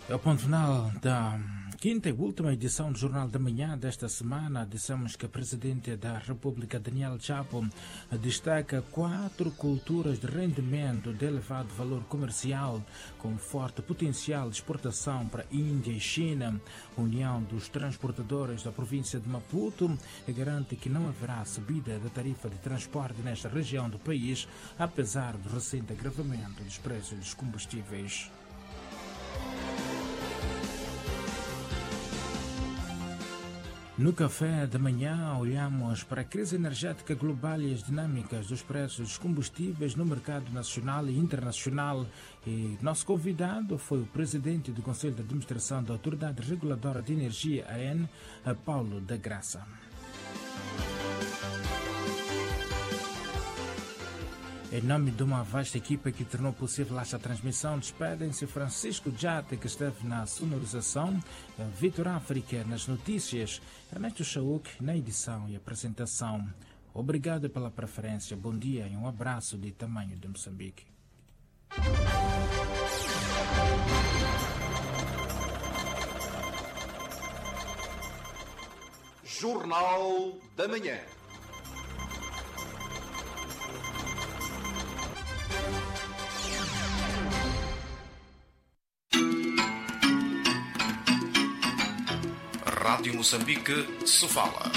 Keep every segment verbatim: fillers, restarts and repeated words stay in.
É o ponto final da quinta e última edição do Jornal da Manhã desta semana. Dissemos que a Presidente da República, Daniel Chapo, destaca quatro culturas de rendimento de elevado valor comercial, com forte potencial de exportação para Índia e China. A União dos Transportadores da província de Maputo garante que não haverá subida da tarifa de transporte nesta região do país, apesar do recente agravamento dos preços dos combustíveis. No café da manhã, olhamos para a crise energética global e as dinâmicas dos preços dos combustíveis no mercado nacional e internacional. E nosso convidado foi o presidente do Conselho de Administração da Autoridade Reguladora de Energia, A N, Paulo da Graça. Em nome de uma vasta equipa que tornou possível esta transmissão, despedem-se Francisco Jate, que esteve na sonorização, Vitor África nas notícias, Ernesto Chauk na edição e apresentação. Obrigado pela preferência, bom dia e um abraço de tamanho de Moçambique. Jornal da Manhã. Rádio Moçambique, Sofala.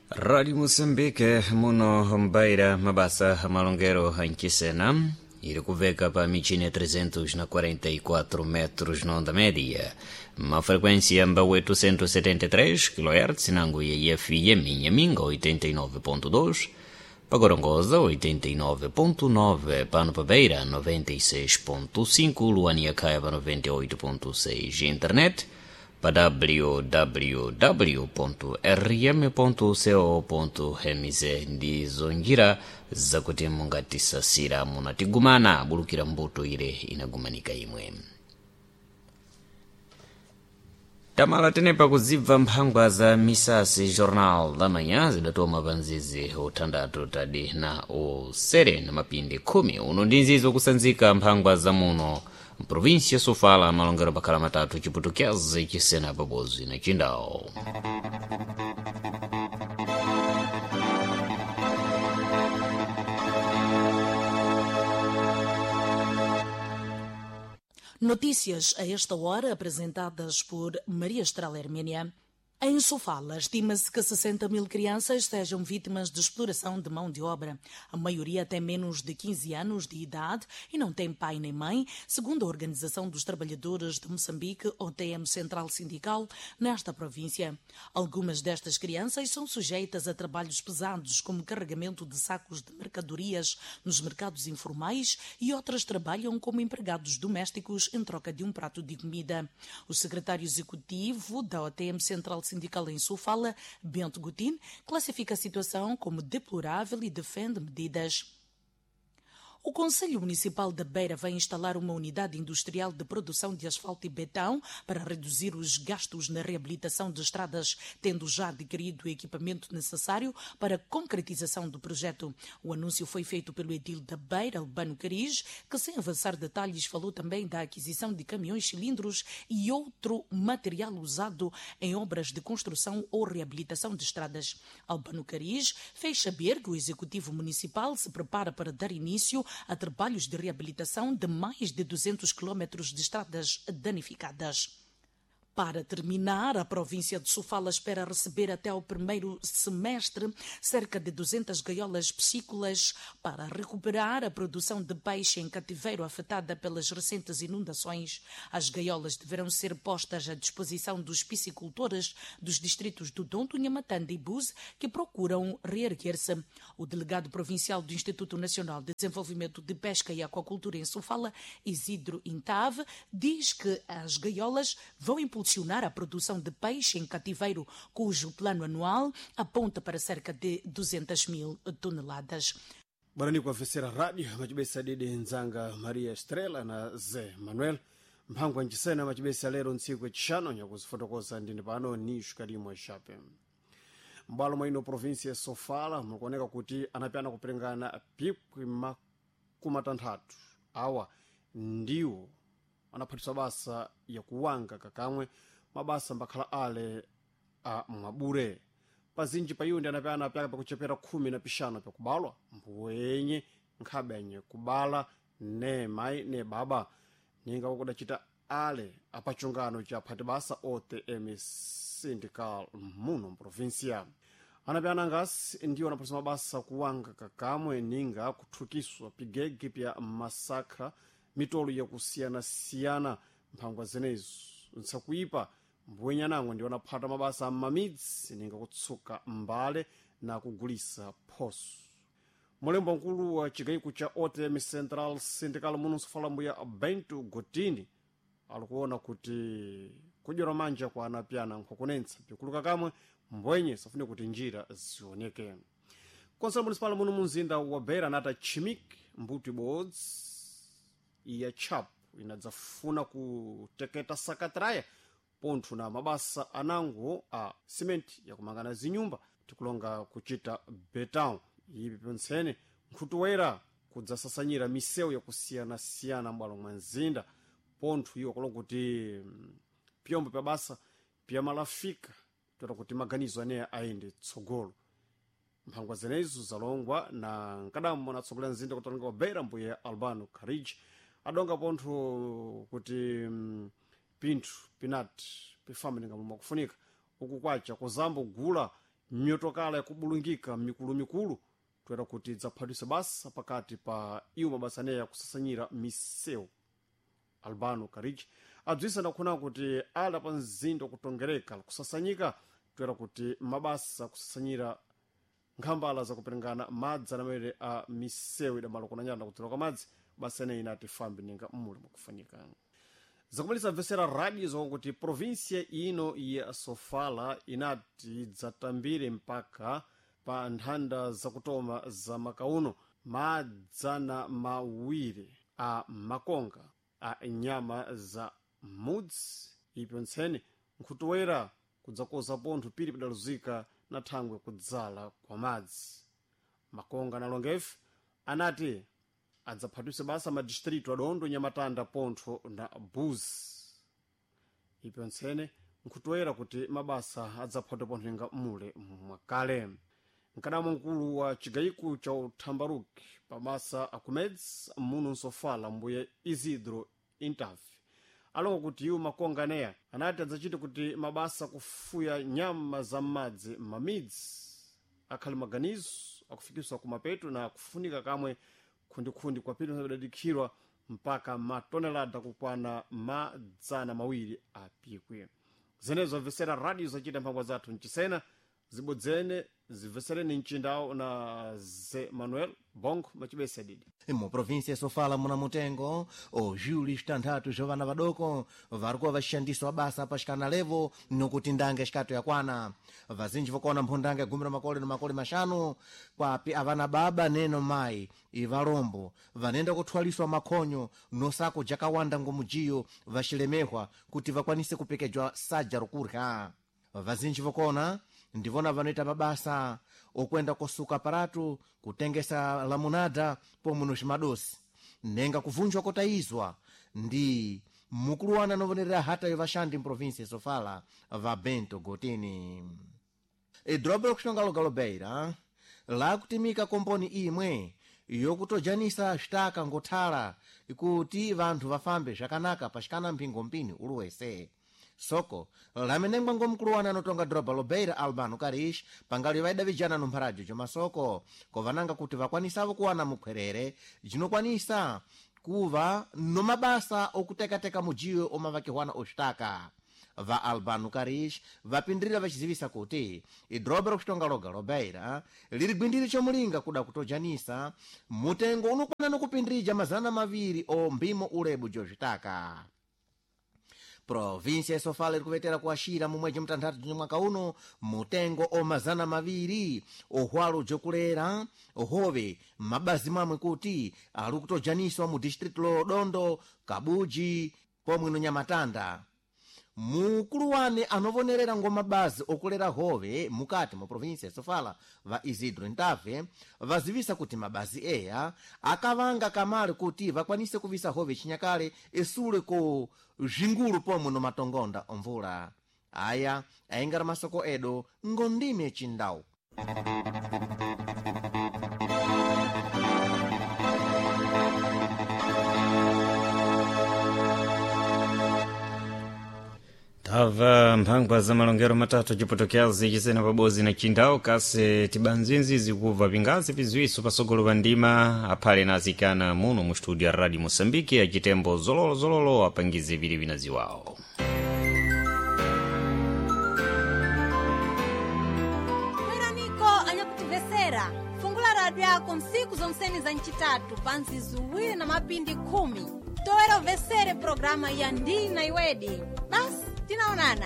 Rádio Moçambique, muno Mbeira, Mabasa, Malongueiro, Anquisena, iri kuveka pa michine trezentos na quarenta e quatro metros na onda média, uma frequência mba oitocentos e setenta e três quilohertz, nango I F M, Inhaminga oitenta e nove ponto dois, Pagorongosa oitenta e nove ponto nove, Pano Beira noventa e seis ponto cinco, Luania Caiba noventa e oito ponto seis, internet para w w w ponto r m ponto co ponto m z. Ndizo njira zakuti mungatisasira munatigumana bulukira mbuto ile inagumanika imwe. Tamala tenepa kuzibva mphangwa za misasi. Jornal da Manhã zidatoma pa nzizi uthandatu tadi na usere na mapindi khumi. Uno ndi nzizi ukusanzika mphangwa za muno mprovinsia Sofala, malongero pakhala matatu, Chiputukezi, Chisena pabodzi na Chindawo. Notícias a esta hora apresentadas por Maria Estrela Hermínia. Em Sofala, estima-se que sessenta mil crianças sejam vítimas de exploração de mão de obra. A maioria tem menos de quinze anos de idade e não tem pai nem mãe, segundo a Organização dos Trabalhadores de Moçambique, O T M Central Sindical, nesta província. Algumas destas crianças são sujeitas a trabalhos pesados, como carregamento de sacos de mercadorias nos mercados informais, e outras trabalham como empregados domésticos em troca de um prato de comida. O secretário executivo da O T M Central Sindical em Sofala, Bento Gutin, classifica a situação como deplorável e defende medidas. O Conselho Municipal da Beira vai instalar uma unidade industrial de produção de asfalto e betão para reduzir os gastos na reabilitação de estradas, tendo já adquirido o equipamento necessário para a concretização do projeto. O anúncio foi feito pelo edil da Beira, Albano Cariz, que, sem avançar detalhes, falou também da aquisição de caminhões cilindros e outro material usado em obras de construção ou reabilitação de estradas. Albano Cariz fez saber que o Executivo Municipal se prepara para dar início a trabalhos de reabilitação de mais de duzentos quilômetros de estradas danificadas. Para terminar, a província de Sofala espera receber até ao primeiro semestre cerca de duzentas gaiolas piscícolas para recuperar a produção de peixe em cativeiro afetada pelas recentes inundações. As gaiolas deverão ser postas à disposição dos piscicultores dos distritos do Dondo, Nhamatanda e Búzi, que procuram reerguer-se. O delegado provincial do Instituto Nacional de Desenvolvimento de Pesca e Aquacultura em Sofala, Isidro Intave, diz que as gaiolas vão impulsionar a produção de peixe em cativeiro, cujo plano anual aponta para cerca de duzentas mil toneladas. Barani kuafesera rádio macibesa didi nzanga Maria Estrela na Zé Manuel mphangwa ncisena macibesa lero ntsiku ecixano nyakuzifotokoza ndine pano ni xikalimwe xape. M'bwalo mwa ino província ya Sofala mukuoneka kuti anapyana kupirengana pikwi makumi atanthatu Awa ndiwo anaphatiswa basa yakuwanga kakamwe mabasa mbakhala ale a mwabure. Pazinji pa iwo ndi anapyana pyaka pakuchepera khumi na pixanu pyakubalwa mbuwenye nkhabe kubala ne mayi ne baba ninga kudacita ale apachungano cha phati basa O T M Sindical muno mprovinsia. Anapyana ngasi ndiwo anaphatisa mabasa kuwanga kakamwe ninga kuthukiswa pigege pya masakha mitolo yakusiyanasiyana mphangwa zenezo nsakuipa. Mbwenye anango ndiwo anaphata mabasa amamidzi ninga kutsuka mbale na kugulisa phoso. Mulembo mkulu wa chigayiko cha O T M Central Sindical muno nsofala mbuya Bento Gotini alikuona kuti kudyera manja kwa anapyana nkhukunentsa pikuluka kamwe mbwenye safune kuti njira zioneke. Konsolo municipal muno munzinda wa Beira anata chimik mbuto ibodzi ya chapu inadzafuna kuteketa sakatraya pontho na mabasa anango a simenti yakumangana zinyumba tikulonga kuchita beton. Ipi ponsene nkhutuwera kudzasasanyira misewu yakusiyanasiyana m'bwalo mwa mzinda pontho iwo kulonga kuti pyombo pya basa pyamalafika toera kuti maganizo aneya ayende tsogolo. Mphangwa zenezo zalongwa na nkadambo natsogolera mzinda kutalonga wa Beira mbuye Albano Carige adonga pontho kuti mm, pinthu pinati pifambe ninga momwe akufunika uku kwacha kuzamba kugula myotokala yakubulungika mikulumikulu toera kuti idzaphatisa basa pakati pa iwo mabasa aneya kusasanyira misewu. Albano Carige abzisa ndakhuna kuti ala pa mzinda kutongereka kusasanyika toera kuti mabasa kusasanyira nkhambala zakuperengana madzi anamene a misewu idamalo kunanyana kudzera kwa madzi basa ineyi inati fambe ninga mmuli mwakufunika. Zakumalisa mvesera radio zokuti provinsia ino ya Sofala inati idzatambire mpaka pa nthanda zakutoma za makauno madzana mawiri a makonga a nyama za mudzi ipyontsene nkhutuwera kudzakoza pontho pili padaluzika na thangwe kudzala kwa madzi. Makonga nalongefe anati adzaphatise basa madistritu adondo Nyamatanda pontho na Buzi. Ipyontsene nkhutoera kuti mabasa adzaphatwa pontho inga mule mwakale. Nkadamo mkulu wa chigayiko cha uthambaruki pamasa akumedzi muno nsofala mbuye Isidro Intavi alonga kuti iwo makonga aneya anati adzachite kuti mabasa kufuya nyama za m'madzi m'mamidzi akhali maganizo akufikiswa kumapeto na kufunika kamwe khundikhundi kwapita sadadikhirwa mpaka matonelada kukwana madzana mawiri apikwe. Zenezo amvesera radio zachita mphangwa zathu mchisena zibodzene zimvesereni mchindawo na Ze Manuel Bongo machibesa didi. Mu província Sofala muna mutengo o Júlio tanthatu zwa vana vadoko varikuwa vaxixandiswa basa paxikana levo nokuti ndange xikato yakwana. Vazinji vokuona mphundanga gumi ra makole na makole maxanu kwapi avana baba neno mayi ivalombo vanenda kuthwaliswa makhonyo nosako jakawanda ngomujiyo vaxilemehwa kuti vakwanise kupekejwa saja rokurya. Vazinji vokona ndivona vanoita mabasa okwenda kosuka paratu kutengesa lamunada pomwe no ximadosi nenga kuvunjwa kotayizwa ndi mukuluwana anovonerera hata vaxandi mprovinsia Sofala va Bento Gotini. Idoroba lokuxonga logalo Beira lakutimika komponi imwe yokutojanisa xitaka ngothala kuti vanthu vafambe zvakanaka paxikana mphingo mpini uluwese. Soko lamenengwa ngomkuluwana anotonga doroba lobeira Albano Karish pangali vaidavijana nompharajo jomasoko kovananga kuti vakwanisavo kuwana mukhwerere jinokwanisa kuva nomabasa okutekateka mujiyo omavakihwana oxitaka. Va Albano Karish vapindirira vachizivisa kuti idoroba lokuxitonga loga lobeira liri gwindiri chomulinga kuda kutojanisa mutengo unokwana nokupindirija mazana maviri o mbimo ulebu jozvitaka. Província ya Sofala iri kuvetera kuaxira mu mwedzi mutanthatu de mwaka uno mutengo o mazana maviri ohwalo jokulera hove mabazi mamwe kuti ali kutojaniswa mu distrito lo Dondo, Kabuji pomwe no Nyamatanda. Mukulu wane anovonerera ngoma bazi okulera hove mukati mu provinsi ya Sofala, va Isidro Ntave, vazivisa kuti mabazi eya akavanga kamale kuti vakwanise kuvisa hove chinyakale esule ku zvingulu pomwe no matongonda omvula. Aya ayingara masoko edo ngondime chindau. Tava mphangwa za malongero matatu cipotokyazi cisena pabodzi na cindau kase tibanzinzi zikubva pingazi pizwiso pasogolo pa ndima aphale na azikana muno mu studio ya Radio Moçambique acitembo zololozololo apangize vili vinaziwawo. Bweraniko anyakutimvesera, fungula radio yako nsiku zonseni za ncitatu pa nzizuwiri na mapindi khumi toera umvesere programa ya Ndina Iwedi. Basi tinaonana.